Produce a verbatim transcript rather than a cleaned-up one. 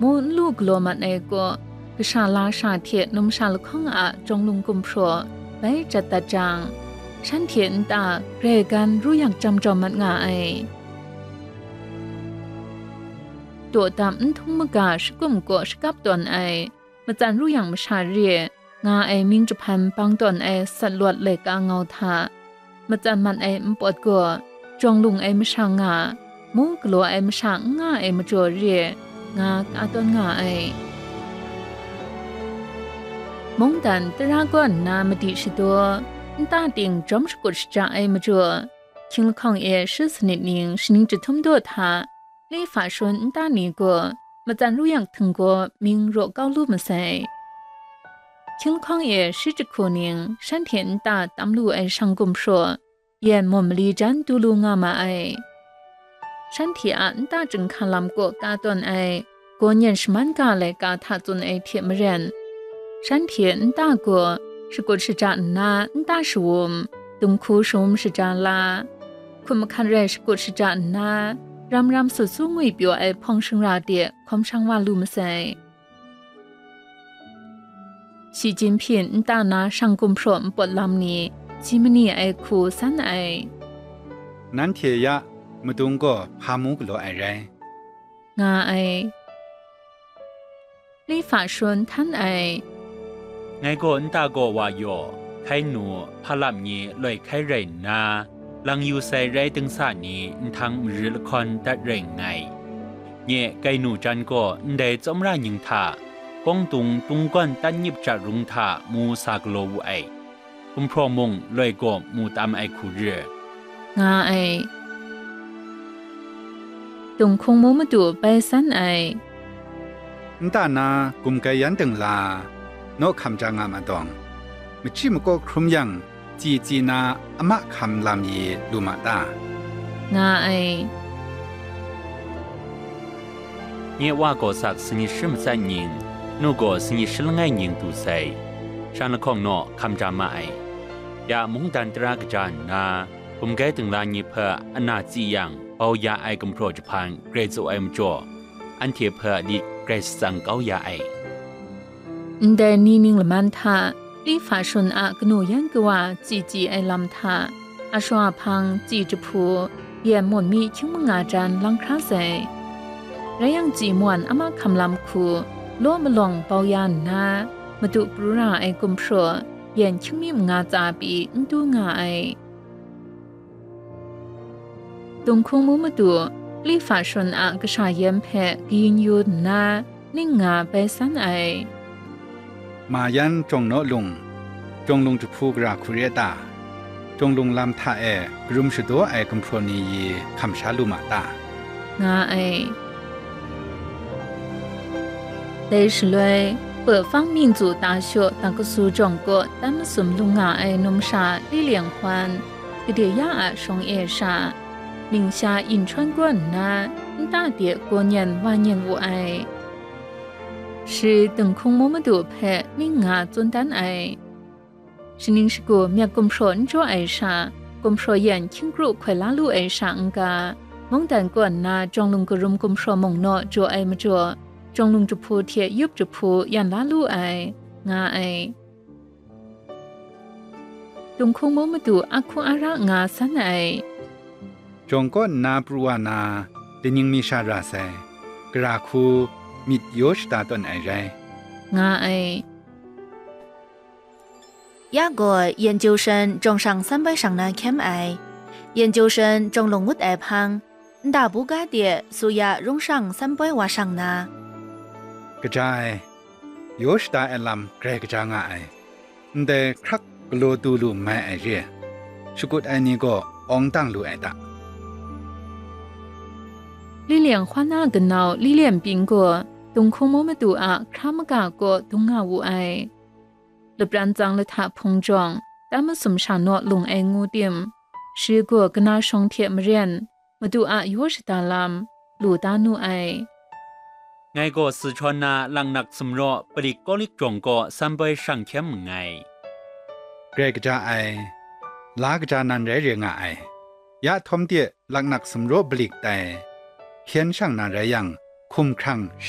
mu n lu galaw mat ai kaw, kasha la sha hte numsha lahkawng a jawng lung gumhpraw bai jat dat jang, shanhte nta grai gan ru yak jam jawm mat nga ai. Dawdam n htung maga shakum kaw shakap tawn ai, matsan ru yang masha re nga ai mying jahpan bang tawn ai sat lawt laika ngau hta, matsan mat ai npawt gaw, jawng lung ai masha nga, mu galaw ai masha n nga ai majaw re nga ka tawn nga ai. Mungdan tara gaw nna madi shadaw, nta ting jawm shakut shaja ai majaw, hkying lahkawng e shi sanit ning shaning jahtum daw hta, Li Fa Shun nta ni gaw matsan ru yang htung gaw mying raw kau lu masai. Hkying lahkawng e shi jahku ning shanhte nta tam lu ai shang gumhpraw, yan mawn mali jan du lu nga ma ai. Shanhte a nta chyinghka lam kaw ka tawn ai, gaw nyan shaman ga laika hta tsun ai hte maren, shanhte nta gaw shakut shaja nna nta shawum, dunghku shawum shaja la, hkum hkan rai shakut shaja nna, ram ram sut su ngwi pyaw ai hpawng shingra de hkawm shang wa lu masai. Shi Jinhpyin nta na shang gumhpraw npawt lam ni, si mani ai hku san ai. Nanhte ya madung gaw hpa mu galaw ai rai, nga ai. Li Fa Shun htan ai. Ngai gaw nta gaw wa yaw, hkai nu, hpa lam ni loi hkai rai nna, lang yu sai rai dingsa ni nhtang mari lahkawn dat rai nngai. Nye kai nu jan gaw ndai tsawmra nying hta, kawng tung tunggawn tan nyip jat rung hta mu sa galaw wu ai. Gumhpraw mung loi gaw mu tam ai hku re, nga ai. Dunghkung mu madu bai san ai. Nta na gumgai yan dingla, naw hkam ja nga ma dawng, machyi makaw hkrum yang, tsi tsi na ama hkam lam yi lu ma ta? Nga ai. Nye wa gaw sak sanit shi matsat nying, nu gaw sanit shi langai nying du sai. Shan lahkawng naw hkam ja ma ai. Ya mungdan tara kaja nna, gumgai dingla ni hpe ana tsi yang, bau ya ai gumhpraw jahpan grai tsaw ai majaw, anhte hpe lit grai shatsang kau ya ai. Ndai ni ning laman hta, Li Fa Shun a kanu yan kawa tsi tsi ai lam hta, a shawa hpang tsi jahpu, yan mawn mi hkying manga jan lang hkra sai. Rai yang, tsi mawn ama hkam lam hku, law malawng bau ya nna, madu pru ra ai gumhpraw, yan hkying mi manga tsa pyi n du nga ai. Dunghkung mu madu, Li Fa Shun a kasha yan hpe kayin yu nna, ning nga bai san ai. Ma yan jawng naw lung, jawng lung jahpu gara hku re ta? Jawng lung lam hta e karum shadaw ai gumhpraw ni yi hkam sha lu ma ta? Nga ai. Dai shaloi, Pehfang Mingzu ta shaw ta kasu jawng kaw tan masum lung nga ai numsha Li Liang Hwan, Gade ya a shawng e sha, ningsha yin htawn gaw nna, nta de gaw nyan wa nyan wu ai. Shi Dunghkung mu madu hpe ning nga tsun dan ai. Shaning shagu myat gumhpraw n jaw ai sha, gumhpraw yan hkying kru hkoi la lu ai sha n-ga, mungdan kaw nna jawng lung karum gumhpraw mung naw jaw ai majaw, jawng lung jahpu hte yup jahpu yan la lu ai, nga ai. Dunghkung mu madu a hku a ra nga san ai. Jawng kaw nna pru wa na, daning mi sha ra sai, gara hku myit yaw shada tawn ai rai, nga ai. Ya gaw, Yan Jiu Shan jawng shang san bai shang na hkyem ai. Yan Jiu Shan jawng lung ngut ai hpang, nda buga de, su ya rung shang san bai wa shang na, kaja ai, yaw shada ai lam grai kaja nga ai. Ndai hkrak galaw du lu n mai ai re, shakut ai ni gaw awng dang lu ai ta? Li Liang Hwan a kanau Li Lian Pyin gaw Dunghkung mu madu a hkra maga kaw dung nga wu ai. Lapran tsang lahta hpung jawng, tam masum sha naw lung ai ngu tim, shi gaw kana shawng hte maren, madu a yaw shada lam, lu da nu ai. Ngai gaw Sichuan na Laknak sumraw Palik Kawlik jawng kaw san bai shang hkyem nngai. Grai kaja ai, la kaja nan rai re nga ai. Ya htawm de Laknak sumraw Palik tai, hpyen shang na rai yang, hkum hkrang